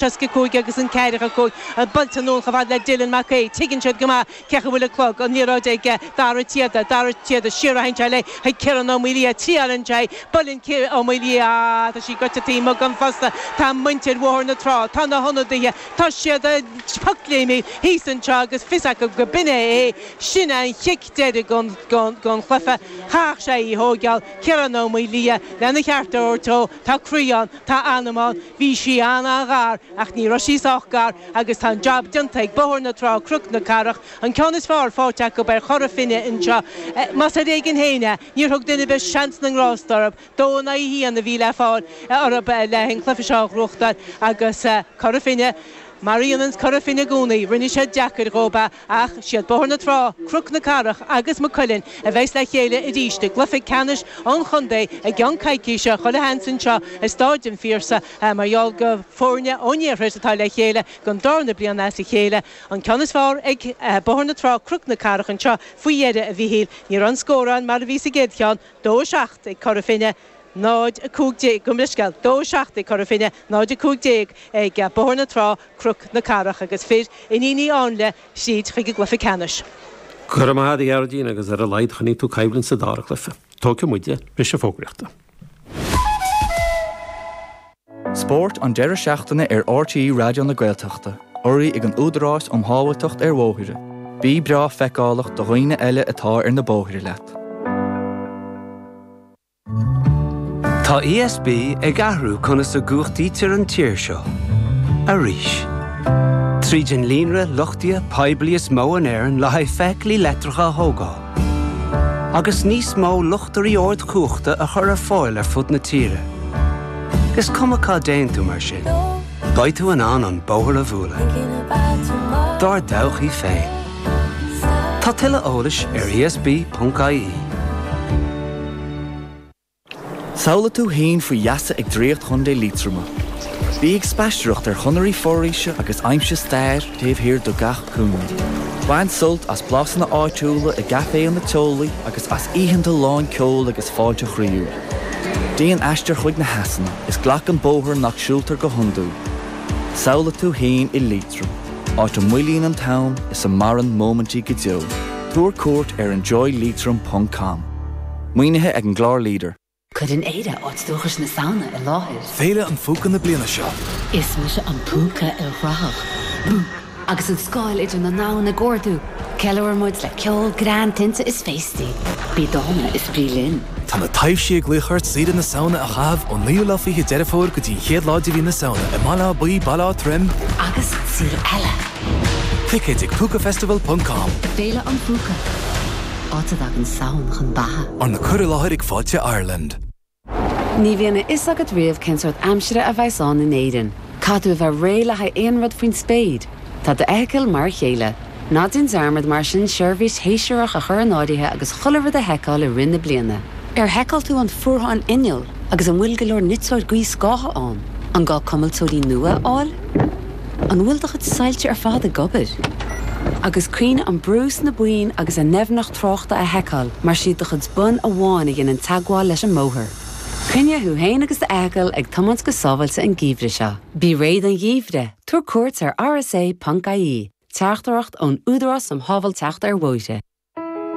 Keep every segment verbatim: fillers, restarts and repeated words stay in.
seasca cúig agus an ceathracha cúig buailte anonn chomh fada le Dylan Mac Aodha. Tuigeann siad go maith cé chaoi bhfuil an clog, an liathróid ag Dara Tiada, Dara Tiada siar a théann sé léi chuig Ciarán Ó Maolaodha, triaileann sé, buaileann Ciarán Ó Maolaodha, tá sí goite taobh amuigh den phosta, tá muintir Bhóthar na Trá, tá na hionadaithe, tá siad ag pocléimí thíos anseo agus fios acu go b'in é é, sin an chic deiridh den chluiche, chaithfeadh sé í a thóigeáil, Ciarán Ó Maolaodha, lena cheart a thabhairt dó, tá croí ann, tá anam ann, bhí sí an-an-ghar ach ní raibh sí sách gar agus tá an jab déanta ag Bóthar na Trá, Cnoc na Cathrach, an ceann is fearr faighte acu ar Chora Finne anseo. Más ar éigean féin é, níor thug duine ar bith seans na ngrást orthu. Dó in aghaidh a haon a bhí le fáil orthu le an cluiche seo a ghnóthachtáil agus Cora Finne, Mar a dhéananns Cora Finne i gcónaí, rinne siad deacair dhóib é, ach siad Bóthar na Trá, Cnoc na Cathrach agus Maigh Cuilinn a bheas le chéile arís i gcluiche ceannais an chontae i gceann coicíse, chuile sheans anseo i Stáid an Phiarsaigh mar gheall go foirne ón iarthar atá le chéile don darna bliain as a chéile. An ceann is fearr ag Bóthar na Trá, Cnoc na Cathrach anseo faoi dheireadh, a Mhíchíl. Ní raibh an scór ann mar a bhí sa gcéad cheann, dó a seacht ag Cora Finne. náid a cúig déag, gabh mo leithscéal, dó a seacht ag Cora Finne, náid a cúig déag ag Bóthar na Trá, Cnoc na Cathrach agus fir Iníon Uí Áinle tríd chuig an gcluiche ceannais. Go raibh maith agat a Ghearóidín agus ar a laghad choinnigh tú coimhlint sa dara cluiche. Tógfaidh muide briseadh fógraíochta. Spórt an deireadh seachtaine ar R T É Raidió na Gaeltachta, urraithe ag an Údarás um Shábháilteacht ar Bhóithre. Bí breá feiceálach do dhaoine eile atá ar na bóithre leat. Tá E S B ag athrú conas a gcumhachtaítear an tír seo. Arís. Tríd an líonra luchtaithe poiblí is mó in Éirinn le haghaidh feithiclí leictreacha a thógáil. Agus níos mó luchtairí ardchumhachta a chur ar fáil ar fud na tíre. Is cuma cá dtéann tú mar sin. Beidh tú in ann an bóthar a bhualadh. Dár dtodhchaí féin. Tá tuilleadh eolais ar E S B ponc I E. Samhlaigh tú féin faoi gheasa ag Draíocht Chontae Liatroma. Bí ag spaisteoireacht ar chonairí foraoise agus aimsigh stair taobh thiar de gach cúinne. Bain sult as blasanna áitiúla i gcaiféanna teolaí agus as oícheanta lán ceoil agus fáilte chroíúil. Déan aistear chuig na heasanna is glac an bóthar nach siúltar go hiondúil. Samhlaigh tú féin i Liatroim, áit a moillíonn an t-am is a maireann móimintí go deo. Tabhair cuairt ar enjoyleitrim ponc com. Maoinithe ag an gclár Leader. Cuireann Éire áit dúchais na Samhna i láthair. Féile an Phúca na bliana seo. Is mise an púca ilchruthach. Bú! Agus an scáil idir na domhain ag ardú. Ceiliúrann muid le ceol, greann, tinte is féastaí. Bí dána is bí linn. Tá na taibhsí ag glaoch ort saoire na Samhna a chaitheamh ón naoú lá fiche Deireadh Fómhair go dtí an chéad lá de mhí na Samhna i mBaile Átha Buí, Baile Átha Troim agus saol eile. Ticéid ag púcafestival ponc com. Féile an Phúca. Áit a dtagann Samhain chun beatha. Arna cur i láthair ag Fáilte Ireland. Ní bhíonn a fhios agat riamh cén sórt aimsire a bheas ann in Éirinn. Caithfidh tú a bheith réidh le haghaidh aon rud faoin spéir. Tá d'fheithicil mar a chéile. Ná déan dearmad mar sin seirbhís shéasúrach a chur in áirithe agus chuile rud a sheiceáil i rith na bliana. Ar sheiceáil tú an fuarthán inneall agus an bhfuil go leor niteoir gaothscátha ann, an gá cuimilteoirí nua a fháil? An bhfuil do chuid soilse ar fad ag obair? Agus cuimhnigh an brú sna boinn agus a ndoimhneacht tráchta a sheiceáil mar is iad do chuid bonn amháin a dhéanann teagmháil leis an mbóthar. Coinnigh thú féin agus d'fheithicil ag tiomáint go sábháilte an geimhreadh seo. Bí réidh don gheimhreadh, tabhair cuairt ar R S A ponc I E, teachtaireacht ón Údarás um Shábháilteacht ar Bhóithre.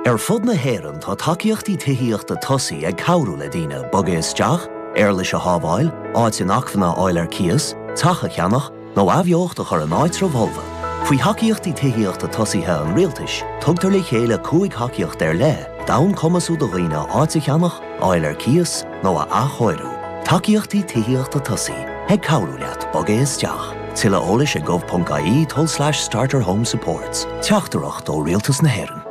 Ar fud na hÉireann tá tacaíochtaí tithíochta tosaí ag cabhrú le daoine bogadh isteach, éarlais a shábháil, áit inacmhainne a fháil ar cíos, teach a cheannach, nó athbheocht a chur in áitreabh folmha. Faoi thacaíochtaí tithíochta tosaithe an rialtais, tugtar le chéile cúig thacaíocht ar leith, d'fhonn cumasú do dhaoine áit a cheannach, fháil ar cíos nó a athchóiriú. Tacaíochtaí tithíochta tosaí ag cabhrú leat bogadh isteach. Tuilleadh eolais ag gov ponc I E tulslais starter home supports. Teachtaireacht ó Rialtas na hÉireann.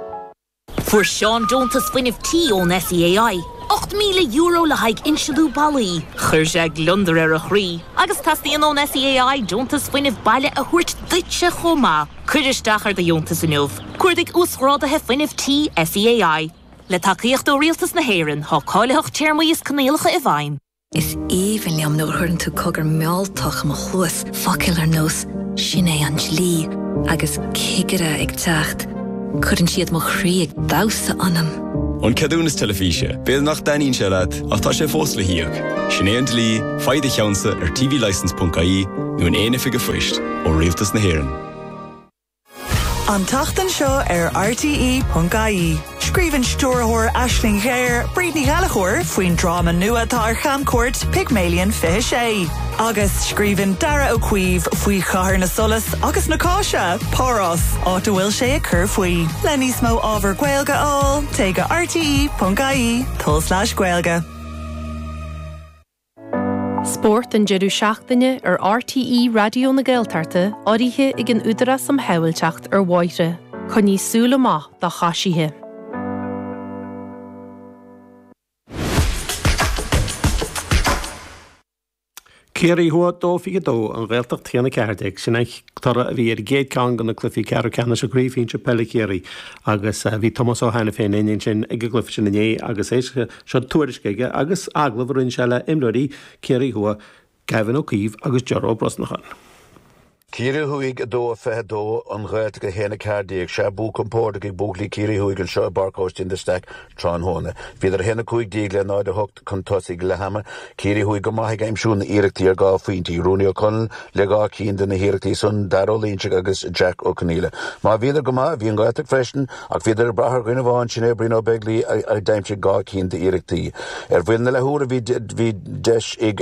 Fuair Seán deontas fuinnimh tí ón S E A I. ocht míle euro le haghaidh insealú ballaí. Chuir sé gliondar ar a chroí, agus teastaíonn ón S E A I deontas fuinnimh baile a thabhairt duitse chomh maith. Cuir isteach ar do dheontas inniu. Cuardaigh uasghráduithe fuinnimh tí S E A I. Le tacaíocht ó Rialtas na hÉireann tá cáilitheacht téarmaí is coinníollacha i bhfeidhm. Is aoibhinn liom nuair a chuireann tú cogar mealltach i mo chluas focail ar nós sin é an dlí agus cigire ag teacht. Cuireann siad mo chroí ag damhsa ionam. An ceadúnas teilifíse, B'fhéidir nach dtaitníonn sé leat ach tá sé fós le híoc. Sin é an dlí, faigh do cheannsa ar tvlicence.ie nó in aon oifig phoist ó Rialtas na hÉireann. An tseachtain seo ar RTE.ie. Scríobhann stiúrthóir Aisling Ghéar Bríd Ní Ghallchóir faoin dráma nua atá ar chamcuairt Pygmalion fiche sé. Agus scríobhann Darragh Ó Caoimh faoi chathair na solas agus na cáise, Párás, áit a bhfuil sé ag cur faoi. Le níos mó ábhar Gaeilge a fháil, téigh go RTE.ie tulslais Gaeilge. Spórt an deireadh seachtaine ar RTE Raidió na Gaeltachta urraithe ag an Údarás um Shábháilteacht ar Bhóithre, Coinnigh súil amach do choisithe. Ciarraí Thuaidh dó fiche dó an Ghaeltacht haon a ceathair déag sin an toradh a bhí ar an gcéad ceann de na cluichí ceathrú ceannais i gCraobh Shinsir Peile Chiarraí agus bhí Tomás Ó hAiniféin ansin ag an gcluiche sin inné agus é seo tuairisc aige agus agallamh a rinne sé le imreoirí Ciarraí Thuaidh Gavin Ó Caoimh agus Ger Ó Brosnacháin. Ciarraí Thuaidh a dó a fiche dó an Ghaeltacht a haon a ceathair déag sé bua compordach ag buachaillí Ciarraí Thuaidh anseo i bPáirc Aibhistín de Staic tráthnóna. Bhíodar a haon a cúig déag le náid a hocht chun tosaigh leath ama, Ciarraí Thuaidh go maith ag aimsiú na hiarrachtaí ar dhá phointí, Rooney O'Connell le dhá cinn de na hiarrachtaí san Dara Ó Loingsigh agus Jack Ó Conghaile. Má bhíodar go maith, bhí an Ghaeltacht freisin ach bhíodar ag brath ar dhuine amháin sin é Brian Ó Beaglaoich a d'aimsigh dhá cinn d'iarrachtaí. Ar bhuille na leathuaire bhí bhí deis ag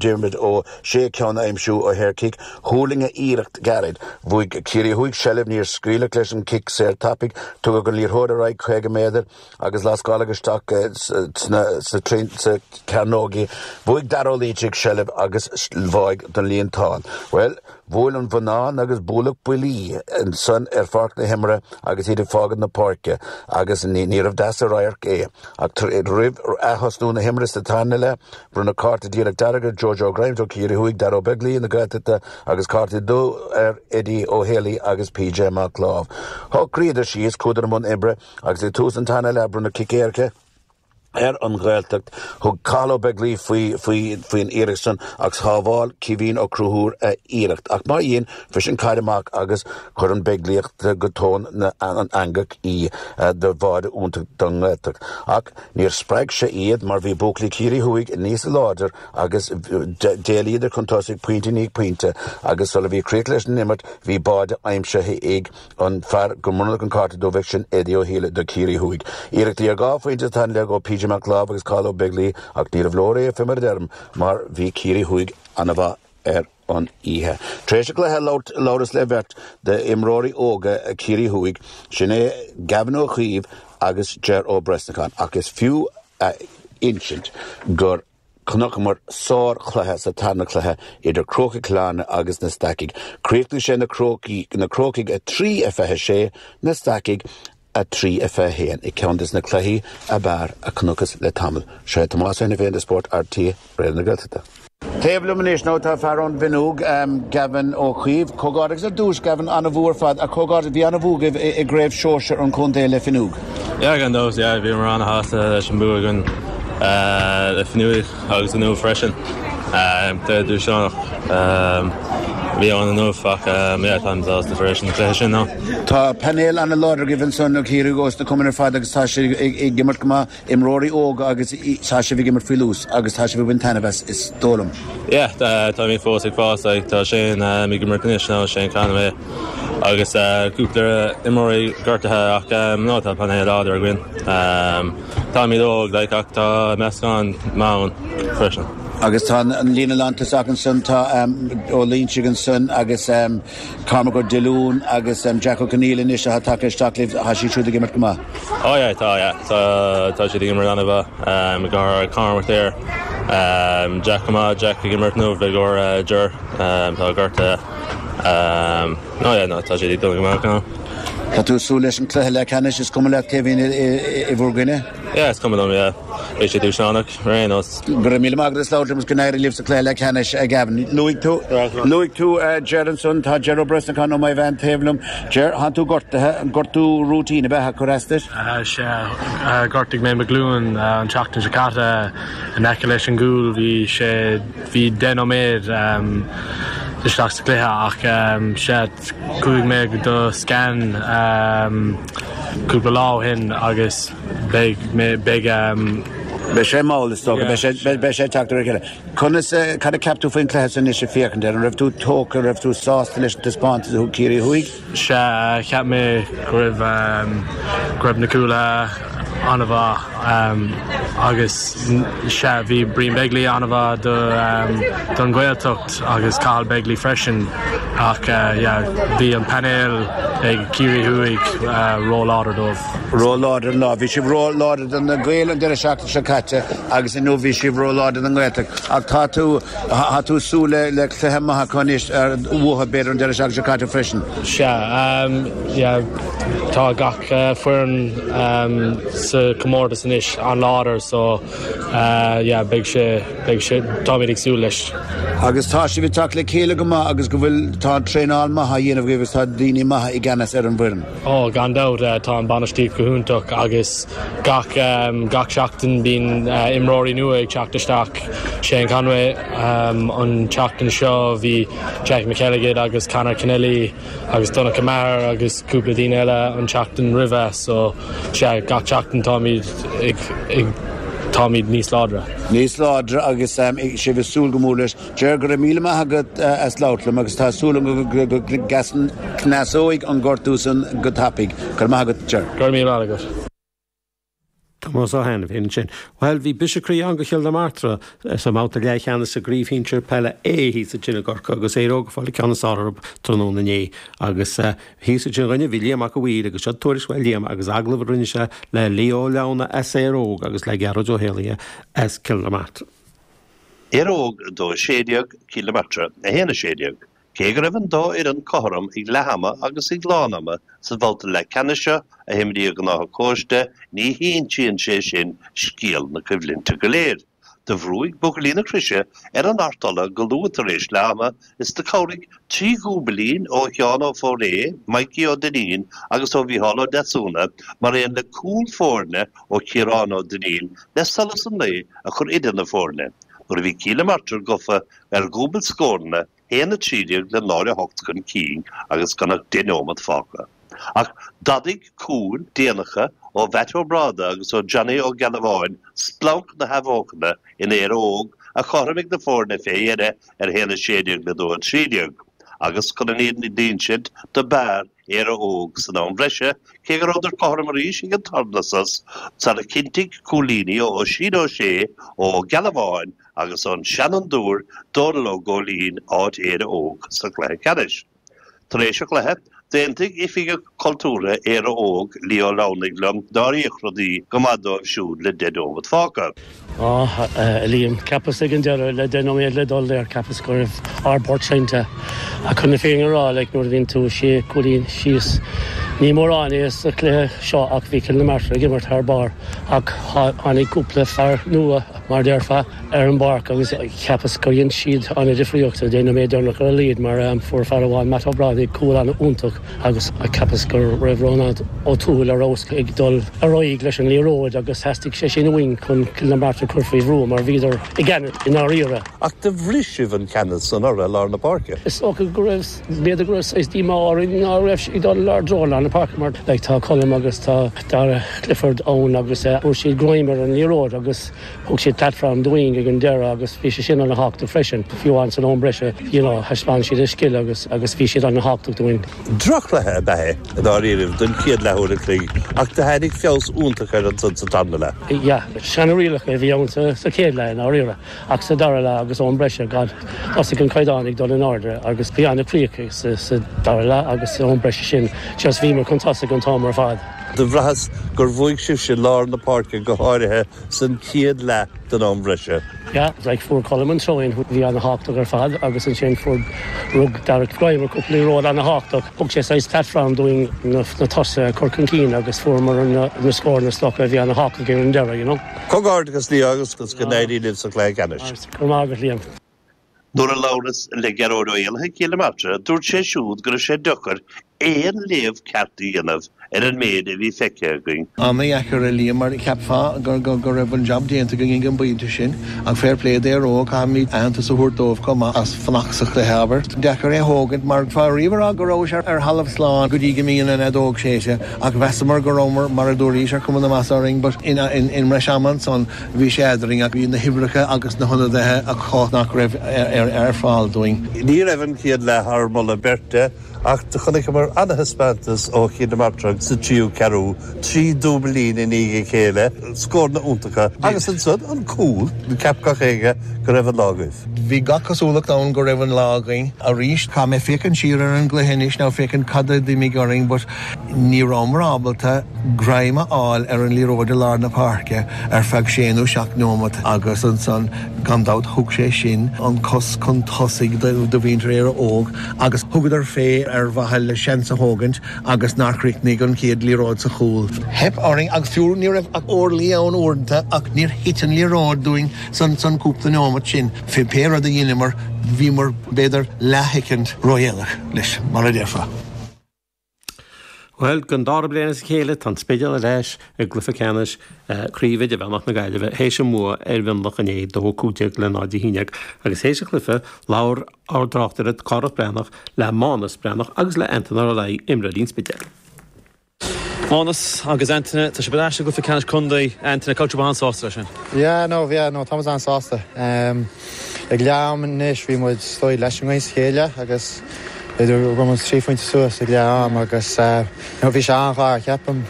Diarmuid Ó Sé ceann a aimsiú ó shaorchic, thuirling a iarracht gairid. Bhuaigh Ciarraí Thuaidh seilbh níor scaoileadh leis an cic saor tapaidh, tugadh an liathróid ar aghaidh caoga méadar agus lascáladh isteach sna sa sa cearnóg í. Bhuaigh Dara Ó Loingsigh seilbh agus bháigh don líontán. Well, bhuail an bhonnán agus bualadh buillí ansan ar pháirc na himeartha agus iad ag fágáil na páirce agus ní níorbh deas an radharc é. Ach roimh athosnú na himeartha sa tarna leath, bronnadh cárta díreach dearg ar Jojo Grimes ó Ciarraí Thuaidh, Dara Ó Beaglaoich na Gaeltachta agus cárta dubh ar Eddie Ó Héalaí agus PJ Mac Láimh. Shocraíodar síos chuadar i mbun oibre agus ag tús an tarna leath bronnadh cic éirice ar an Ghaeltacht thug Cathal Ó Beaglaoich faoi faoi faoin iarracht san agus shábháil Caoimhín Ó Conchúir a iarracht ach mar dhéan bhris an caid amach agus chuir an Beaglaoich go tóin na an eangach í do bháide iontach don nGaeltacht. Ach níor spreag sé iad mar bhí buachaillí Ciarraí Thuaidh níos láidir agus d'éalaíodar chun tosaigh pointe i ndiaidh pointe agus sula bhí críoch leis an imirt bhí báide aimsithe ag an fear go mbronnadh an cárta dubh sin Eddie Ó hÍle do Ciarraí Thuaidh. Iarrachtaí ar dhá phointe sa tarna leath ó PJ Mac Láimh agus Cathal Ó Beaglaoich ach níorbh leor é fé mar a deirim mar bhí Ciarraí Thuaidh an-mhaith ar an oíche. Tar éis an chluiche labhras le beirt d'imreoirí óga Ciarraí Thuaidh, sin é Gavin Ó Caoimh agus Ger Ó Brosnacháin ach is fiú a insint gur chonaiceamar sárchluiche sa tarna cluiche idir Crócaigh Chill Airne agus na Stacaigh. Chríochnaigh sé na Crócaigh na Crócaigh a trí a fiche sé, na Stacaigh a trí a fiche haon i gceann de na cluichí ab fhearr a chonacthas le tamall. Sé Tomás Ó hAiniféin do Spórt RTÉ Raidió na Gaeltachta. Taobh liom anois nó tá fear ón bhFionnúig Gavin Ó Caoimh, comhghairdeas ar dtús Gavin an-bhua ar fad a comhghairdeas bhí an-bhua agaibh i gcraobh shóisir an chontae le Fionnúg. Yeah, gan dabht, yeah, bhíomar an-shásta leis an bua againn le Fionnúig agus inniu freisin. Cluiche dúshlánach a bhí ann inniu ach yeah, táim sásta freisin an cluiche sin ná. Tá painéal an-láidir agaibh ansan ó Chiarraí os na cumainn ar fad agus tá sé ag imirt go maith imreoirí óga agus tá sibh ag imirt faoi luas agus tá sibh ag baint taitneamh as is dóigh liom. Yeah, táimid fós ag fás like, tá Shane ag imirt anois nó Shane Conway agus cúpla imreoirí gortaithe ach no tá painéal láidir againn. Táimid óg like, ach tá meascán maith ann freisin. Agus tá an líne lántosach ansan tá Ó Loingsigh ansan agus Cormac Ó Diolún agus Jack Ó Conghaile anois atá tagtha isteach libh tá siad siúd ag imirt go maith. Oh yeah, tá yeah. Tá tá siad ag imirt an-mhaith go Cormac there. Um, Jack go maith, Jack ag imirt inniu i gcomhair Ger um, tá gortaithe. Um, no yeah, no, tá siad ag dul go maith now. Tá tú súil leis an cluiche leathcheannais is cuma leat cé a bhíonn i bhur gcoinne? Yeah, is cuma liom, yeah. Beidh sé dúshlánach ar aon nós. Go raibh míle maith agat as labhairt liom agus go n-éirí libh sa cluiche leathcheannais a Gavin. Luaigh tú luaigh tú Ger ansan tá Ger Ó Brosnacháin ó Maigh Mheáin taobh liom. Ger, tá tú gortaithe, an gortú routine a bheith ag cur as duit? Sea, ghortaigh mé mo ghlúin an tseachtain seo caite in aice leis an gcúl bhí sé bhí deich nóiméad isteach sa chluiche ach sea chuaigh mé do scan cúpla lá ó shin agus beidh beidh um, Beidh sé mall is dócha, beidh sé teacht ar a chéile. Conas cad a cheap tú faoin chluiche anois ag féachaint air, an raibh tú tógtha, raibh tú sásta leis an taispeántas a thug Ciarraí Thuaidh? Sea, cheap mé go raibh um, go raibh na cúlaithe an-mhaith um, agus sea bhí Brian Begley an-mhaith do um, don Ghaeltacht agus Cathal Begley freisin ach uh, yeah, bhí an painéal ag Ciarraí Thuaidh uh, ró-láidir dóibh. Ró-láidir lá, bhí sibh ró-láidir don na Gaeil an deireadh seachtaine seo caite agus inniu bhí sibh ró-láidir don nGaeltacht. Ach tá tú tá tú súil le le cluiche maith anois ar uathu b'fhéidir an deireadh seachtaine seo caite freisin. Sea, um, yeah, tá gach uh, foireann um, sa comórtas anois an-láidir so uh, yeah, beidh sé beidh sé táimid ag súil leis. Agus tá sibh ag teacht le chéile go maith agus go bhfuil tá traenáil maith á dhéanamh agus tá daoine maithe i gceannas ar an bhfoireann. Ó gan dabht uh, tá an bhainistíocht go hiontach agus gach um, gach seachtain bíonn uh, imreoirí nua ag teacht isteach Shane Conway um, an tseachtain seo bhí Jack McKelligan agus Conor Kennelly agus Donncha Maher agus cúpla daoine eile an tseachtain roimhe so sea gach seachtain táimid ag, ag táimid níos láidre. Níos láidre agus um, sibh ag súil go mór leis. Ger go raibh míle maith agat uh, as labhairt liom agus tá súil go gcneasóidh an gortú san go tapaidh. Go maith agat Ger. Go míle agat. Tomás Ó hAiniféin sin. Well bhí briseadh croí ann do Chill na Martra sa mbabhta leathcheannais sa gcraobh shinsir peile A thíos ansin i gCorcaigh agus Éire Óg ag fáil an ceann is fearr orthu tráthnóna inné agus thíos ansin dhúinne bhí Liam Mac a' Mhaoir agus seo tuairisc uaidh Liam agus agallamh a rinne sé le Leo Leona as Éire Óg agus le Gearóid Ó hÉalaithe as Cill na Martra. Éire Óg dó sé déag Cill na Martra a haon a sé déag. Cé go raibh an dá fhoireann cothrom ag leath ama agus ag lán ama sa bhabhta leathcheannais seo a himríodh in Áth Cóiste, ní hinsíonn sé sin scéal na coimhlinte go léir. Do bhrúigh buachaillí na Croise ar an Art Uladh go luath tar éis leath ama is do chabhraigh trí dhúbailín ó Sheán Ó Fóiré, Mikey Ó Duinnín agus ó Mhícheál Ó Deasúna mar aon le cúl foirne ó Chiarán Ó Duinnín le solas an lae a chur idir na foirne nuair a bhí Cill na Martra gafa ar dhúbailt scóranna haon a trí déag le náid a hocht chun cinn agus gan ach deich nóiméad fágtha. Ach d'fhadaigh cúil déanacha ó Mhatt Ó Bráda agus ó Johnny Ó Gealbháin splanc na hathbheochana in Éire Óg a chothromaigh na foirne fé dheireadh ar haon a sé déag le dó a trí déag. Agus chun an fhírinne d'insint do b'fhearr Éire Óg san am bhreise cé go rabhadar cothrom arís ag an tarna sos sara chinntigh cúilíní ó Oisín Ó Sé, ó Gealbháin agus ón seanfhondúir Dónal Ó Góilín áit Éire Óg sa chluiche ceannais. Tar éis an chluiche, d'aontaigh Oifigeach Cultúrtha Éire Óg, Leo Lamhnaigh liom nár íoc rudaí go maith dóibh siúd le deich nóiméad fágtha. Á, a Liam, cheapas ag an deireadh le deich nóiméad le dul there, cheapas go raibh ár bport seinnte. Ach chun na fírinne a rá, like, nuair a bhíonn tú sé cúilín síos, ní mórán é sa chluiche seo ach bhí Cill na Martra ag imirt thar barr ach tháinig cúpla fear nua, mar déarfá, ar an bpáirc agus cheapas gur dhein siad an-difríocht sa deich nóiméad deireanach ar a laghad mar fuair fear amháin, Matt Ó Brádaigh, cúl an-iontach agus cheapas go raibh Rónán Ó Tuathail ar fheabhas ag dul ar aghaidh leis an liathróid agus theastaigh sé sin uainn chun Cill na Martra a chur faoi bhrú mar bhíodar i gceannas i ndáiríre. Ach do bhris sibh an ceannas san orthu i lár na páirce. Is dócha go raibh, b'fhéidir go raibh saghas díomá orainn ná raibh sé ag dul ár dtreo i lár na páirce mar like tá Colm agus tá Dara Clifford ann agus fuair siad greim ar an liathróid agus thug siad platform dúinn ag an deireadh agus bhí sé sin an-thábhachtach freisin. Fiú amháin san am breise, you know, thaispeáin siad a scil agus agus bhí siad an-thábhachtach dúinn. Droch-chluiche ab ea é i ndáiríribh don chéad leathuair an chloig ach do tháinig feabhas iontach air ansan sa tarna leath. Yeah, seana-rialacha a bhí ann sa sa chéad leath i ndáiríre ach sa dara leath agus am breise, God, thosaigh an caighdeán ag dul in airde agus bhí an-chríoch sa sa dara leath agus san am breise sin just bhíomar chun tosaigh an t-am ar fad. Do bhraitheas gur bhuaigh sibhse lár na páirce go háirithe san chéad leath den am bhreise. Yeah, like fuair Colm an throw-in, bhí an-thábhachtach ar fad agus ansin fuair rug Dara greim ar cúpla liathróid an-thábhachtach. Thug sé saghas platform dúinn na na tosaithe a chur chun cinn agus fuaireamar na na scóranna is dócha a bhí an-thábhachtach ar an deireadh, you know. Comhghairdeachas Leo agus go n-éirí libh sa chluiche ceannais. Go raibh maith agat Liam. Nuair a labhras le Gearóid Ó Héalaithe Cill na Martra, dúirt sé siúd go raibh sé deacair aon léamh ceart a dhéanamh ar an méid a bhí feicthe againn. An-dheacair a Liam mar cheapfá gur go raibh an job déanta againn ag an bpointe sin ach fair play d'Éire Óg caithfimid aitheantas a thabhairt dóibh chomh maith as fanacht sa chluiche abair. Deacair é thógaint mar tá riamh rá go raibh sé ar thalamh slán go dtí go mbíonn an fheadóg séidte ach mheasamar go rabhamar mar a dúraís ar chuma na measa orainn, but in in in mbreis ama ansan bhí sé eadrainn ach bhí na huimhreacha agus na hionadaithe acu nach raibh ar ar fáil dúinn. Ní raibh an chéad leath thar moladh beirte ach do chonaiceamar an-thaispeántas ó Chill na Martra sa tríú ceathrú, trí dúbailín i ndiaidh a chéile, scóranna iontacha agus ansan an cúl, cheap gach éinne go raibh an lá agaibh. Bhí gach cosúlacht ann go raibh an lá againn arís Tá mé féachaint siar ar an gcluiche anois ná féachaint cad a d'imigh orainn, but ní rabhamar ábalta greim a fháil ar an liathróid i lár na páirce ar feadh sé nó seacht nóiméad agus ansan gan dabht thug sé sin an cos chun tosaigh do mhuintir Éire Óg agus thugadar fé ar mhaithe le seans a thógaint agus nár chríochnaigh an chéad liathróid sa chúl. Theip orainn agus fiú ní raibh ach orlaí ann uaireanta ach níor thit an liathróid dúinn san san cúpla nóiméad sin. Fé pé rud a dheineamar bhíomar b'fhéidir leathshoicind ródhéanach leis mar a déarfá. Well, don dara bliain as a chéile tá an Spidéal ar ais i gcluiche ceannais Craobh Idirmheánach na Gaillimhe théis a mbua ar Mhionlach inné dó cúig déag le náid a haon déag agus théis an chluiche labhair ár dtráchtaire Cárthach Breathnach le Mánas Breathnach agus le Antaine Ó Raghallaigh imreoirí an Spidéil. Mánas agus Antaine tá sibh ar ais i gcluiche ceannais contae Antaine cultúr an-sásta leis sin. Yeah, no, yeah, no, tá an-sásta. Um, ag leath ama anois bhí muid stoi leis an sa chéile agus b'fhéidir go raibh trí phointe suas ag leath am agus uh, no, bhí sé an-ghar ceapaim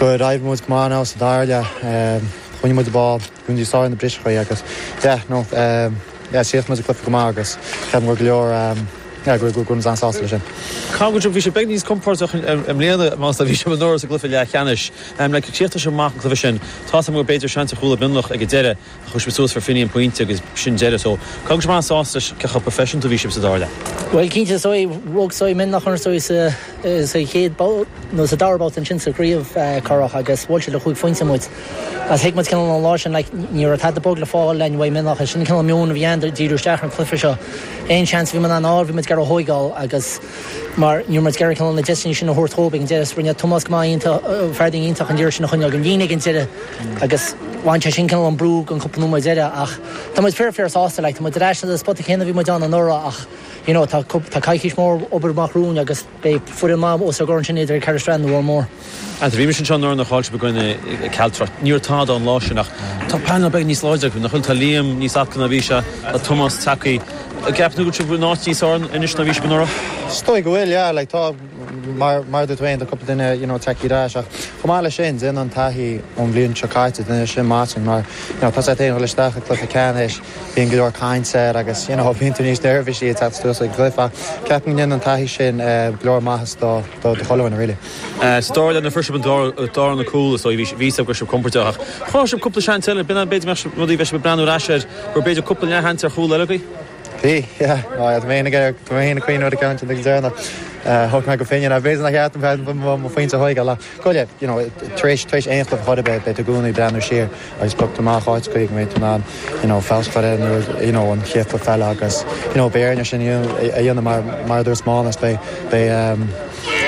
go raibh muid go maith sa dara leath um, choinnigh muid ball gunní sá na briseachaí agus yeah, no, um, yeah, síos muid cluiche go maith agus ceapaim go leor um, yeah, go go go an-sásta leis sin. Cá go bhí sé beag níos compordach i mbliana más a bhí sé anuraidh sa gcluiche leathcheannais. Le críochnaigh sé amach an cluiche sin tá go b'fhéidir seans a chúla Mionlach ag deireadh a chuir suas for finí an pointe agus sin deireadh so Cá go an-sásta cé chomh professional bhí sibh sa dara leath. Well cinnte so rug so Mionlach an so sa sa chéad nó sa dara babhta sin sa chraobh curach agus bhuail sé le chúig phointe muid. As thuig muid cineál an lá sin ní raibh tada bog le fáil le uaidh Mionlach sin cineál meon a bhí ann díriú isteach an cluiche seo. Aon seans bhí an áir bhí muid gar thógáil agus mar ní muid gar na deiseanna sin a thabhairt dóibh an deireadh rinne Tomás go maith fear iontach an deireadh sin a choinneáil an líne an deireadh agus bhain sé sin cineál an brú an cúpla nóiméad deireadh ach tá muid fíor fíor sásta le tá muid ar ais na spota céanna bhí muid ann anuraidh ach you know, tá tá coicís mór obair amach romhainn agus beidh foireann maith os ár gcomhair sin idir Caherlistrane nó Mór. An bhí sin seo nuair a chaill sibh i gcoinne Cealtrach níor tada an lá sin ach tá panel beag níos láidre nach bhfuil tá Liam níos aclaí ná bhí sé tá Tomás tagtha gceap nó go náit níos áran inis na bhí anuraidh? Is dóigh go bhfuil yeah, like, tá mar mar dúirt tú cúpla duine you know, tagtha ar ais ach chomh maith leis sin déanann an taithí ón bhliain seo caite duine sin Martin mar you know, tá sé ag dul isteach i cluiche ceannais bíonn go leor cainte air agus you know, bíonn tú níos neirbhísí ag teacht ag cluiche ceapaim go ndéanann an taithí sin uh, go leor maitheas do do do chuile really. Uh, Sa dara leath na fuair an dara na cúl so bhí bhí go sibh compordach. Chá sib cúpla seans eile b'in b'fhéidir rudaí bheith breathnú ar ais gur b'fhéidir cúpla leathsheans ar chúl eile agaibh? Bhí mé mé cuioú a cean déna thug mé go féine a bhééis na cheart mo phointe thuige le goile tar éis tar éis aon chluiche be be gúnaí breathnú siar agus bocht amach áit chuig mé tú you know feabhas you know an chéad feile agus you know béarna sin a dhéanamh mar mar dúirt Mánas be be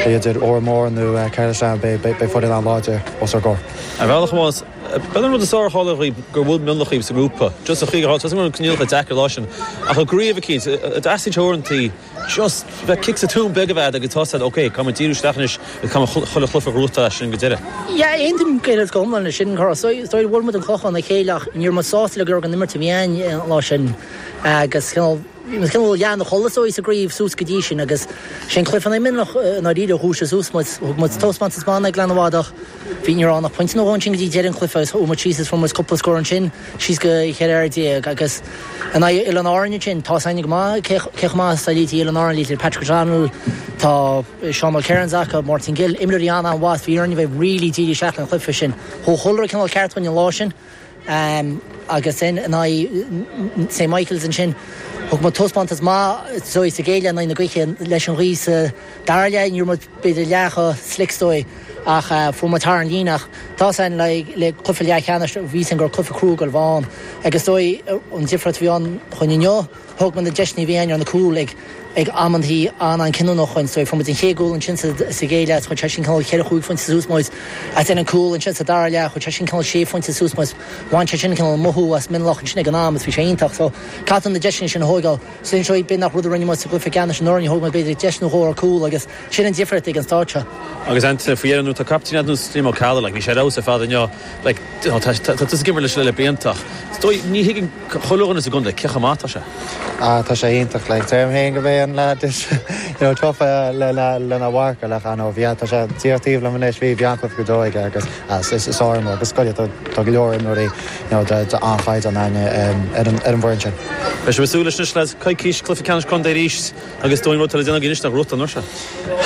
idir Órán Mór nó Caherlistrane be be foireann an-láidir os ár gcomhair. A bhealach más Ben an rud is áhála gur bhfuil Mionlach sa ngrúpa, just a chuig an coinníollacha deacair lá sin ach a gríomh cínt a teorantaí just bheith kick sa tún beg a bheith agus tá oké, tá díú stenis tá chuile chluiche rúta sin go deireadh. Ja aontaím go hiomlán sin chu so bhfuil muid an clochán a chéileach níor má sásta le gur an imirt a bhí ann lá sin agus cineál lean chola so sa gcraobh suas go dtí sin agus sin cluiche in Mionlach ná rí húse suas muid taispeántas maith ag leanbhádach bhí ní rannach point nó sin go dtí deireadh an cluiche agus ó síos fu cúpla scór sin síos go cheithre déag agus an Oileáin Árann sin tá aine go maith cé maith a lítí Oileáin Árann lí Patrick O'Donnell tá Sean Mulkerrins acu Martin Gill imreoirí an an was bhí bheith really díí seach an chluiche sin. Thó chulra cineál ceart an lá sin um, agus sin in aghaidh St Michaels ansin thug muid taispeántas maith so sa gcéile na na goiche leis an rí sa dara leath ní b'fhéidir leath slickstoi Ach fuair muid thar an líne ach tá san le le cluiche leathcheannais bhí sin gur cluiche crua a bhí ann agus dóigh an difríocht bhí ann chun inniu thóg muid na deiseanna bhí ann ar na cúil ag ag amantaí an-chinniúnach chun so fuair muid an chéad chúl ansin sa chéad leath chuir sé sin cineál ceithre chúig phointe suas muid as an cúl ansin sa dara leath chuir sé sin cineál sé phointe suas muid bhain sé sin cineál mothú as Mionlach ansin ag an am is bhí sé iontach so caithfidh na deiseanna sin a thógáil sin seo b'in nach rud a rinne muid sa gcluiche ceannais anuraidh thóg muid b'fhéidir deis nó dhó ar cúl agus sin an difríocht ag an stáid seo. Agus Anthony faoi dheireadh tá captaen nó Liam Ó Ceallaigh like, bhí sé rá fad inniu like, tá tú ag imirt leis le blianta. Ní thuigeann chuile dhuine sa gcontae cé chomh maith tá sé. Ah tá sé iontach like deirim féin go b'é an lad is you know tofa le le lena mharcáil le an bhí tá sé tíortíh le anois bhí beanchlah go dóige agus is is áir agus scoile tá go leor imreoirí you know de de an-chaighdeán ann ar an ar an bhfoireann sin. Beidh sé súil leis le coicís cluiche ceannais contae arís agus dóin rud le déanamh anois na rúta nó se.